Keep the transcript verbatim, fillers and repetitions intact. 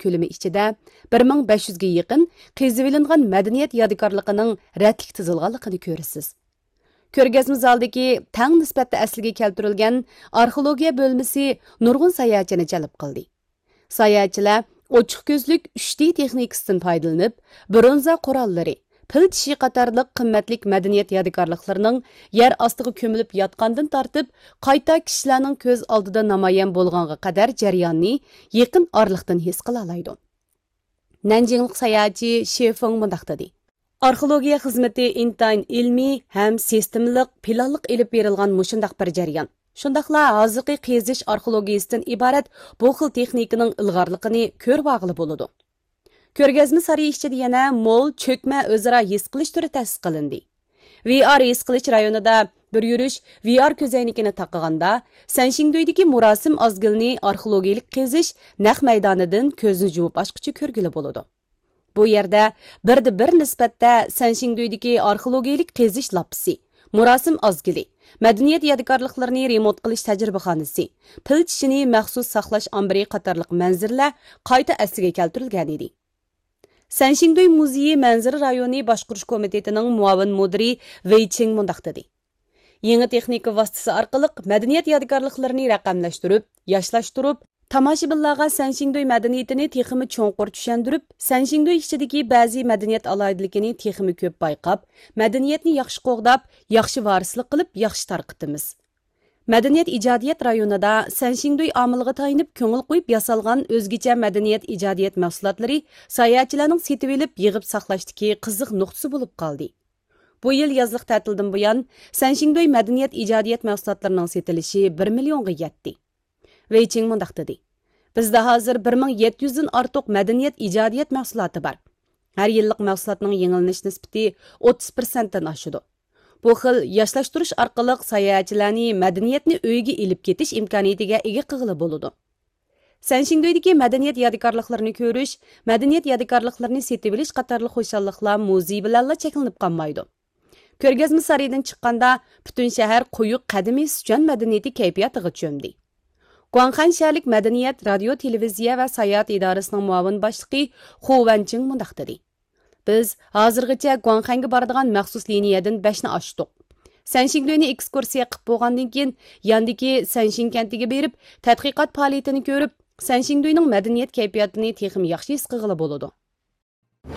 كۆلىمى ئىچىدە بىر مىڭ بەش يۈزگە يېقىن قېزىۋېلىنغان مەدەنىيەت يادىكارلىقىنىڭ رەتلىك تىزىلغانلىقىنى كۆرىسىز. كۆرگەزمە زالىدىكى تەڭ نىسبەتتە ئەسلىگە كەلتۈرۈلگەن ئارخېئولوگىيە بۆلمىسى نۇرغۇن ساياھەتچىنى جەلپ قىلدى. ساياھەتچىلەر ئوچۇق كۆزلۈك ئۈچ دى تېخنىكىسىدىن پايدىلىنىپ، برونزا قوراللىرى، پىل چىشى قاتارلىق قىممەتلىك مەدەنىيەت يادىكارلىقلىرىنىڭ يەر ئاستىغا كۆمۈلۈپ ياتقاندىن تارتىپ، قايتا كىشىلەرنىڭ كۆز ئالدىدا نامايان بولغانغا قەدەر جەرياننى يېقىن ئارىلىقتىن ھېس قىلالايدۇ. نەنجىڭلىق ساياھەتچى شې فېڭ مۇنداق دېدى: ئارخېئولوگىيە خىزمىتى ئىنتايىن ئىلمىي ھەم سىستېمىلىق، پىلانلىق ئېلىپ بېرىلغان مۇشۇنداق بىر جەريان. شۇنداقلا ھازىرقى قېزىش ئارخېئولوگىيىسىدىن ئىبارەت بۇ خىل تېخنىكىنىڭ ئىلغارلىقىنى كۆرۈۋالغىلى بولىدۇ. كۆرگەزمە سارىيى ئىچىدە يەنە مول چۆكمە ئۆزئارا ھېس قىلىش تۈرى تەسىس قىلىندى. ۋى ئار ھېس قىلىش رايونىدا بىر يۈرۈش ۋى ئار كۆزەينىكىنى تاقىغاندا، سەنشىڭدۇيدىكى مۇراسىم ئازگىلىنى ئارخېئولوگىيىلىك قېزىش نەق مەيدانىدىن كۆزنى يۇمۇپ ئاچقۇچە كۆرگىلى بولىدۇ. بۇ يەردە بىردە بىر نىسبەتتە سەنشىڭدۇيدىكى ئارخېئولوگىيىلىك قېزىش لاپپىسى، مۇراسىم ئازگىلى، مەدەنىيەت يادىكارلىقلىرىنى رېمونت قىلىش تەجرىبىخانىسى، پىل چىشىنى مەخسۇس ساقلاش ئامبىرى قاتارلىق مەنزىرىلەر قايتا ئەسلىگە كەلتۈرۈلگەنىدى. سەنشىڭدۇي مۇزېيى مەنزىرە رايونى باشقۇرۇش كومىتېتىنىڭ مۇئاۋىن مۇدىرى ۋېي چىڭ مۇنداق دېدى: يېڭى تېخنىكا ۋاسىتىسى ئارقىلىق مەدەنىيەت يادىكارلىقلىرىنى رەقەملەشتۈرۈپ، ياشلاشتۇرۇپ، تاماشىبىنلارغا سەنشىڭدۇي مەدەنىيىتىنى تېخىمۇ چوڭقۇر چۈشەندۈرۈپ، سەنشىڭدۇي ئىچىدىكى بەزى مەدەنىيەت ئالاھىدىلىكىنى تېخىمۇ كۆپ بايقاپ، مەدەنىيەتنى ياخشى قوغداپ، ياخشى ۋارىسلىق قىلىپ، ياخشى تارقىتىمىز. مەدەنىيەت ئىجادىيەت رايونىدا سەنشىڭدۇي ئامىلىغا تايىنىپ كۆڭۈل قويۇپ ياسالغان ئۆزگىچە مەدەنىيەت ئىجادىيەت مەھسۇلاتلىرى ساياھەتچىلەرنىڭ سېتىۋېلىپ يىغىپ ساقلاشتىكى قىزىق نۇقتىسى بولۇپ قالدى. بۇ يىل يازلىق تەتىلدىن بۇيان، سەنشىڭدۇي مەدەنىيەت ئىجادىيەت مەھسۇلاتلىرىنىڭ سېتىلىشى بىر مىليونغا يەتتى. ۋېي چىڭ مۇنداق دېدى: بىزدە ھازىر بىر مىڭ يەتتە يۈزدىن ئارتۇق مەدەنىيەت ئىجادىيەت مەھسۇلاتى بار. ھەر يىللىق مەھسۇلاتنىڭ يېڭىلىنىش نىسبىتى ئوتتۇز پىرسەنتتىن ئاشىدۇ. بۇ خىل ياشلاشتۇرۇش ئارقىلىق ساياھەتچىلەرنى مەدەنىيەتنى ئۆيىگە ئېلىپ كېتىش ئىمكانىيىتىگە ئىگە قىلغىلى بولىدۇ. سەنشىڭدۇيدىكى مەدەنىيەت يادىكارلىقلىرىنى كۆرۈش، مەدەنىيەت يادىكارلىقلىرىنى سېتىۋېلىش قاتارلىق خۇشاللىقلار مۇزېي بىلەنلا چەكلىنىپ قالمايدۇ. كۆرگەزمە سارىيىدىن چىققاندا، پۈتۈن شەھەر قويۇق قەدىمىي سىچۈەن مەدەنىيىتى كەيپىياتىغا چۆمدى. گۇاڭخەن شەھەرلىك مەدەنىيەت، رادىيو، تېلېۋىزىيە ۋە ساياھەت ئىدارىسىنىڭ مۇئاۋىن باشلىقى خۇ ۋەنچىڭ مۇنداق دېدى: بىز ھازىرغىچە گۇاڭخەنگە بارىدىغان مەخسۇس لىنىيەدىن بەشنى ئاچتۇق. سەنشىڭدۇينى ئېكسكۇرسىيە قىلىپ بولغاندىن كېيىن، ياندىكى سەنشىڭ كەنتىگە بېرىپ، تەتقىقات پائالىيىتىنى كۆرۈپ، سەنشىڭدۇينىڭ مەدەنىيەت كەيپىياتىنى تېخىمۇ ياخشى ھېس قىلغىلى بولىدۇ.